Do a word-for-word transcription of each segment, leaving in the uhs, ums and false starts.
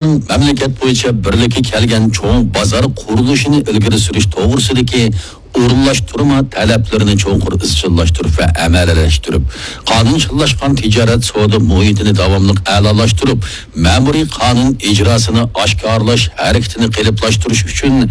مەملىكەت بويىچە بىرلىككە كەلگەن چوڭ بازار قۇرۇلۇشىنى ئىلگىرى سۈرۈش توغرىسىدىكى ئورۇنلاشتۇرما تەلەپلىرىنى چوڭقۇر ئىزچىللاشتۇرۇپ ۋە ئەمەلىيلەشتۈرۈپ، قانۇنچىللاشقان تىجارەت سودا مۇھىتىنى داۋاملىق ئەلالاشتۇرۇپ، مەمۇرىي قانۇن ئىجراسىنى ئاشكارىلاش ھەرىكىتىنى قېلىپلاشتۇرۇش ئۈچۈن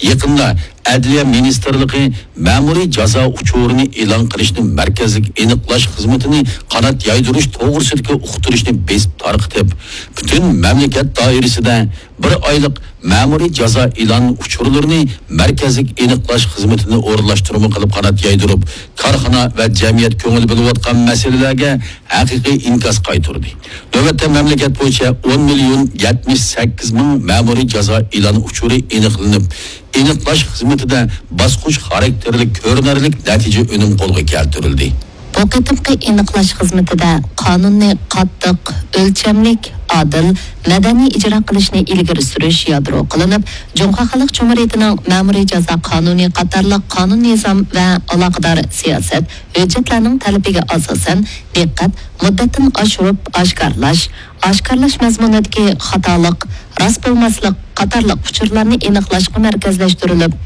يېقىندا ئەدلىيە مىنىستىرلىقى مەمۇرىي جازا ئۇچۇرىنى ئېلان قىلىشنى مەركەزلىك ئېنىقلاش خىزمىتىنى قانات يايدۇرۇش توغرىسىدىكى ئۇقتۇرۇشنى بېسىپ تارقىتىپ، پۈتۈن مەملىكەت دائىرىسىدە بىر ئايلىق مەمۇرىي جازا ئېلان ئۇچۇرلىرىنى مەركەزلىك ئېنىقلاش خىزمىتىنى ئورۇنلاشتۇرما قىلىپ قانات يايدۇرۇپ، كارخانا ۋە جەمئىيەت كۆڭۈل بۆلۈۋاتقان مەسىلىلەرگە ھەقىقىي ئىنكاس قايتۇردى. نۆۋەتتە مەملىكەت بويىچە ئون مىليون يەتمىش سەككىز مىڭ مەمۇرىي جازا ئېلان ئۇچۇرى ئېنىقلىنىپ، ئېنىقلاش خىزمىتىدە باسقۇچ خاراكتېرلىك كۆرۈنەرلىك نەتىجە ئۈنۈم قولغا كەلتۈرۈلدى. بۇ قېتىمقى ئېنىقلاش خىزمىتىدە قانۇننى قاتتىق، ئۆلچەملىك، ئادىل، مەدەنىي ئىجرا قىلىشنى ئىلگىرى سۈرۈش يادرو قىلىنىپ، جۇڭخۇا خەلق جۇمھۇرىيىتىنىڭ مەمۇرىي جازا قانۇنى قاتارلىق قانۇن نىزام ۋە ئالاقىدار سىياسەت، ھۆججەتلەرنىڭ تەلىپىگە ئاساسەن، دىققەت مۇددەتتىن ئاشۇرۇپ ئاشكارىلاش، ئاشكارىلاش مەزمۇنىدىكى خاتالىق، راست بولماسلىق قاتارلىق ئۇچۇرلارنى ئېنىقلاشقا مەركەزلەشتۈرۈلۈپ،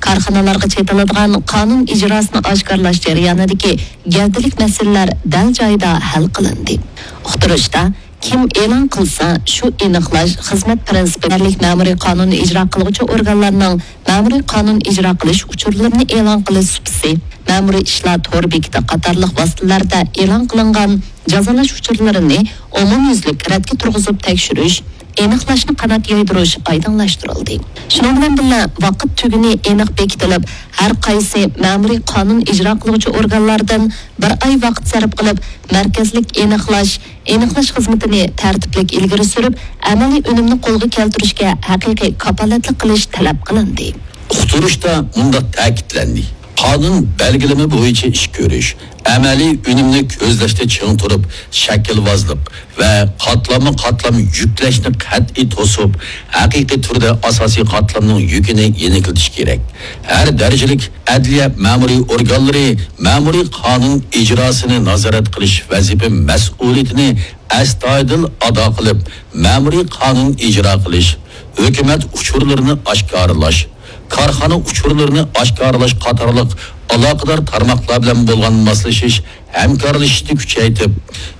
كارخانىلارغا چېتىلىدىغان قانۇن ئىجراسىنى ئاشكارىلاش جەريانىدىكى گەۋدىلىك مەسىلىلەر دەل جايىدا ھەل قىلىندى. ئۇقتۇرۇشتا، كىم ئېلان قىلسا، شۇ ئېنىقلاش خىزمەت پىرىنسىپى يەرلىك مەمۇرىي قانۇن ئىجرا قىلغۇچى ئورگانلارنىڭ مەمۇرىي قانۇن ئىجرا قىلىش ئۇچۇرلىرىنى ئېلان قىلىش سۇپىسى، مەمۇرىي ئىشلار تور بېكىتى قاتارلىق ۋاسىتىلەردە ئېلان قىلىنغان جازالاش ئۇچۇرلىرىنى ئومۇميۈزلۈك رەتكە تۇرغۇزۇپ تەكشۈرۈش، ئېنىقلاشنى قانات يايدۇرۇش ئايدىڭلاشتۇرۇلدى. شۇنىڭ بىلەن بىللە، ۋاقىت تۈگۈنى ئېنىق بېكىتىلىپ، ھەر قايسى مەمۇرىي قانۇن ئىجرا قىلغۇچى ئورگانلاردىن بىر ئاي ۋاقىت سەرپ قىلىپ، مەركەزلىك ئېنىقلاش، ئېنىقلاش خىزمىتىنى تەرتىپلىك ئىلگىرى سۈرۈپ، ئەمەلىي ئۈنۈمنى قولغا كەلتۈرۈشكە ھەقىقىي كاپالەتلىك قىلىش تەلەپ قىلىندى. ئۇقتۇرۇشتا مۇنداق تەكىتلەندى: قانۇن بەلگىلىمە بويىچە ئىش كۆرۈش، ئەمەلىي ئۈنۈمنى كۆزلەشتە چىڭ تۇرۇپ، شەكىلۋازلىق ۋە قاتلاممۇ قاتلام يۈكلەشنى قەتئىي توسۇپ، ھەقىقىي تۈردە ئاساسىي قاتلامنىڭ يۈكىنى يېنىكلىتىش كېرەك. ھەر دەرىجىلىك ئەدلىيە مەمۇرىي ئورگانلىرى مەمۇرىي قانۇن ئىجراسىنى نازارەت قىلىش ۋەزىپە مەسئۇلىيىتىنى ئەستايىدىل ئادا قىلىپ، مەمۇرىي قانۇن ئىجرا قىلىش، ھۆكۈمەت ئۇچۇرلىرىنى ئاشكارىلاش، كارخانا ئۇچۇرلىرىنى ئاشكارىلاش قاتارلىق ئالاقىدار تارماقلار بىلەن بولغان ماسلىشىش، ھەمكارلىشىشنى كۈچەيتىپ،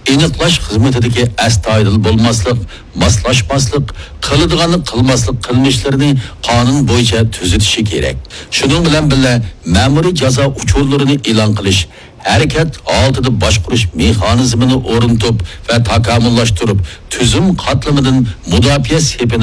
ئېنىقلاش خىزمىتىدىكى ئەستايىدىل بولماسلىق، ماسلاشماسلىق، قىلىدىغاننى قىلماسلىق قىلمىشلىرىنى قانۇن بويىچە تۈزىتىشى كېرەك. شۇنىڭ بىلەن بىللە، مەمۇرىي جازا ئۇچۇرلىرىنى ئېلان قىلىش، ھەرىكەت ھالىتىدە باشقۇرۇش مېخانىزمىنى ئورنىتىپ ۋە تاكامۇللاشتۇرۇپ، تۈزۈم قاتلىمىدىن مۇداپىئە سېپىنى